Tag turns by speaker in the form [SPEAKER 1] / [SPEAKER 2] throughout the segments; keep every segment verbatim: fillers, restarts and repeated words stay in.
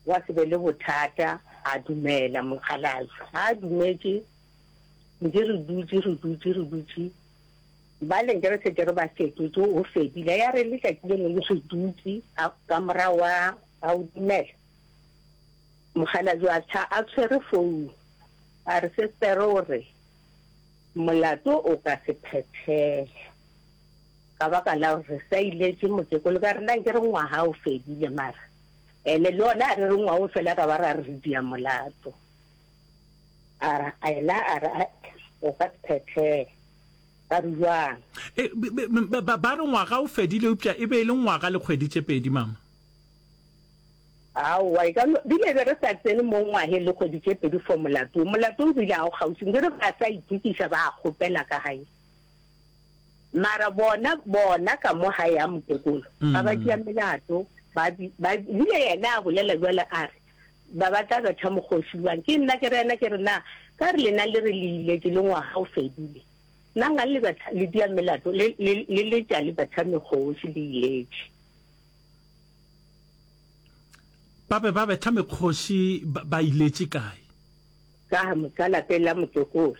[SPEAKER 1] Gwa se be le bothata, a dumela mokgalabje. Ga a dumetše, ntše re dutše, re dutše, re dutše, bale nke re šetše re ba fetotše, o fedile. Ya re letšatši le lengwe re dutše, a, ka morago wa, a o dumela, mokgalabje a tšha a tshwere founu, a re, Sestere o re molato o ka se phethege ka baka la gore re sa iletše mokekolo. Ka re, Nna nke re ngwaga o fedile, mara ene le yona a re re ngwaga o fela ra ba ra re re dia molato. A re, ena a re, Ae, o ka se phethege. Ba re, Bjang?
[SPEAKER 2] E, ba, ba re ngwaga o fedile, eupša e be e le ngwaga le kgwedi tše pedi, mama.
[SPEAKER 1] Aowa, e ka no, bile be re sa tsene mo ngwageng le kgwedi tše pedi for molato wo. Molato o bile ga o kgauswi, nke re ba sa itokiša ba kgopela ka gae. Mara bona, bona ka mo gae ya mokekolo, ba ba tšea melato, ba, ba, bile yena a bolela bjale a re, ba ba tla betha mokgoši bjang? Ke nna ke re yena ke re, na ka re lena le re le iletše le ngwaga o fedile, na ngang le betha, le dia melato, le, le, le letša le betha mekgoši le iletše?
[SPEAKER 2] Ba be ba betha mekgoši ba iletše kae?
[SPEAKER 1] Ka, ka lapeng la mokekolo.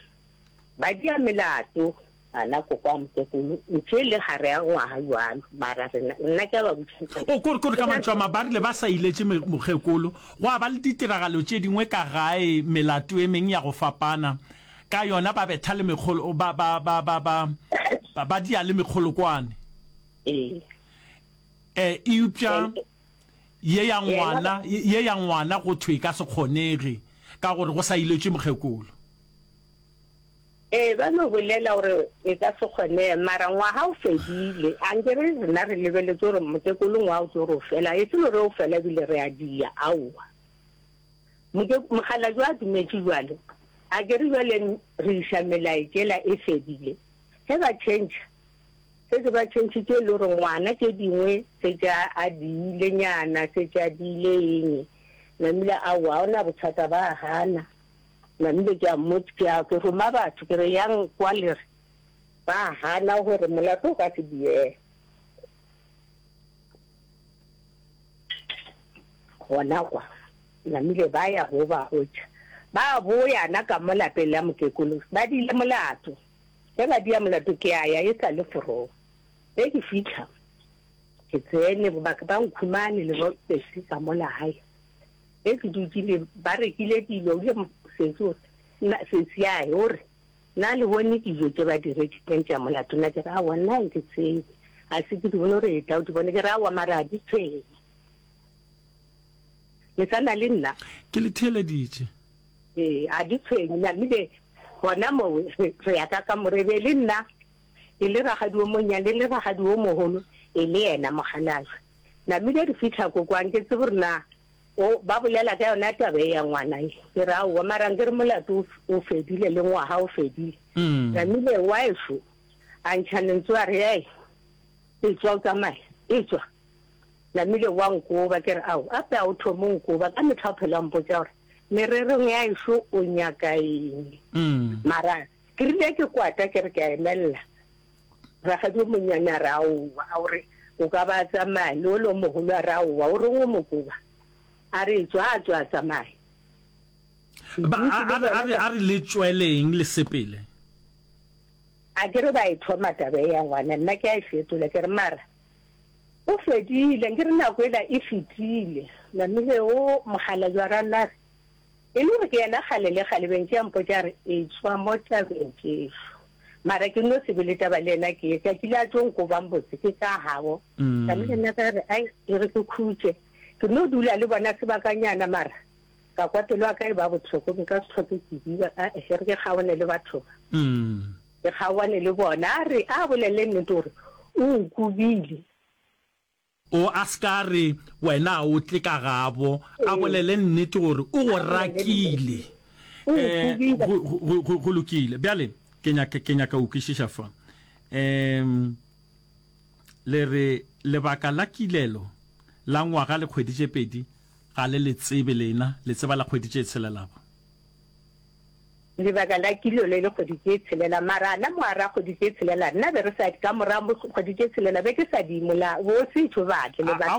[SPEAKER 1] Ba dia melato, ana koko a mokekolo, ntše le gare ya ngwaga bjalo, mara rena, nna ke a ba botšiša.
[SPEAKER 2] O, kore, kore ka mantšu a ma, ba rile ba sa iletše mokgekolo, gwa ba le ditiragalo tše dingwe ka gae, melato e meng ya go fapana, ka yona ba betha le mekgolo, ba, ba, ba, ba, ba, ba, ba dia le mekgolokwane.
[SPEAKER 1] Ee.
[SPEAKER 2] E, eupša ye ya ngwana, ye ya ngwana go thwe e ka se kgonege ka gore go sa iletšwe mokgekolo.
[SPEAKER 1] Ee, ba no bolela gore e ka se kgonege, mara ngwaga o fedile. A nke re rena re lebeletše gore mokekolo ngwaga o tlo re o fela, e se no re o fela ebile re a dia, aowa. Moke, mokgalabje a dumetše bjalo, a ke re bjale re iša melaetšela e fedile. Ge ba tšhentšha, Šetše ba tšhentšhitše e le gore ngwana tše dingwe šetše a a diile nyana, šetše a diile eng. Namile aowa ga ona bothata ba a gana. Namile ke a mmotša, ke a ke roma batho ke re yang kwa le re ba a gana gore molato o ka se diege. Gona kwa namile ba ya go ba hwetša ba boya na ka mo lapeng la mokekolo ba diile molato. Ge ba dia molato ke a ya e sa le forong. Ge ke fihla ke tsene ba ba nkhumane le bo sesi ka mola gae. Ge ke dutše le ba rekile dilo o ile sesi o re nna sesi ae o re na le bone dijo tše ba di rekileng tša molato nna ke re aowa nna ga ke tsebe ga se ke di bone o re etla o di bone ke re aowa mara ga di tshwenye. Le sa na le nna?
[SPEAKER 2] Ke le theeleditše.
[SPEAKER 1] Ee, a di tshwenye. Namile gona moo re, re ya ka kamore, e be e le nna, e le rakgadi wo monnyane, e le rakgadi wo mogolo, e le yena mokgalabje. Namile re fihla ko kwa, nke tsebe gore na o, ba bolela ka yona taba ye ya ngwana ye. Ke re, Aowa, mara nke re molato o, o fedile, le ngwaga o fedile. Namile waešo a ntšha lentswe a re, Hei, etšwa o tsamaye, etšwa. Namile wa nkoba, ke re, Ao, ape a o thome o nkoba, ka mehla o phela o mpotša gore mererong ya ešo o nyaka eng. Mara ke rile ke kwata ke re ke a emelela, rakgadi o monnyane a re, Aowa, a o re o ka ba a tsamaya, le ole o mogolo a re, Aowa, o reng o mo koba? A re, Etšwa, a tšwa a tsamaya.
[SPEAKER 2] Ba, a, a re, a re, a re le tšweleng le sepele.
[SPEAKER 1] A ke re ba e thoma taba e ya ngwana, nna ke a e fetola, ke re, Mara O fedile, nkere nako ela e fetile. Namile o mokgalabje wa Ranare, e le gore ke yena kgale le kgale bentše a mpotša a re, Etšwa mo tabeng tšešo. Mara ke no se be le taba le yena ke ye tšatši le a tlo nkobang botse ke ka gabo. Namile nna ka re, Ai, e re ke khutše. Ke no dula le bona sebakanyana mara ka kwa pelo ya ka e ba bohloko, nka se hloke ke diba, ae, e re ke kgaone le batho ba. Ke kgaoane le bona. A re, a bolele nnete gore o nkobile.
[SPEAKER 2] O a se ka re wena a o tle ka gabo, a bolele nnete gore o go rakile. Eh, go, go, go, go lokile. Bjale, ke nyaka, ke nyaka go kwešiša fa. Um, le re lebaka la kilelo la ngwaga le kgwedi tše pedi ga le le tsebe lena, le tseba la kgwedi tše tshelelago.
[SPEAKER 1] Lebaka la kilo le le kgwedi tše tshelela, mara ana mo ara kgwedi tše tshelela, nna be re sa, ka morago kgwedi tše tshelela be ke sa di mola, bo setšo ba tle le
[SPEAKER 2] A, aowa,